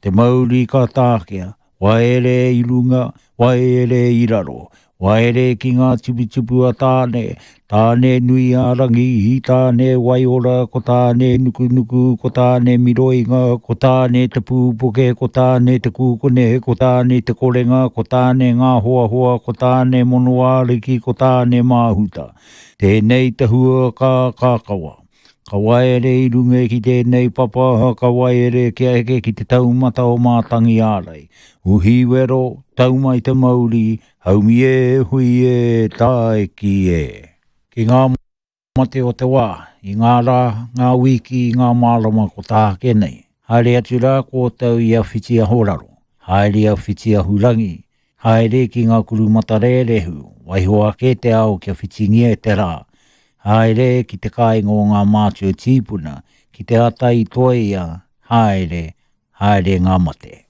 Ko te mauri ka tākea, waere i runga, waere i raro, waere ki ngā tuputupu a Tāne, Tāne nui a Rangi, Tāne waiora, ko Tāne nukunuku, ko Tāne miroinga, ko Tāne te pūpuke, ko Tāne te kūkune, ko Tāne te korenga, ko Tāne ngā hoahoa, ko Tāne monoāriki, ko Tāne māhuta. Tēnei te hua ka kākawa. Ka waere i runga ki tēnei papa, ka waere kia eke ki te taumata o Mātangi Ārai. Uhi wero, tau mai te mauri, haumi e, hui e, tāiki e. Ki ngā mate o te wā, i ngā rā, ngā wīki, i ngā marama ko tāke nei. Haere atu rā kōtou i a Whitiahoraro, haere a Whitiahurangi, Haere ki ngā kurumatarerehu, waiho ake te ao kia whitingia e te rā. Haere ki te kāinga o ngā mātua tīpuna, ki te ata i toia, haere, haere ngā mate.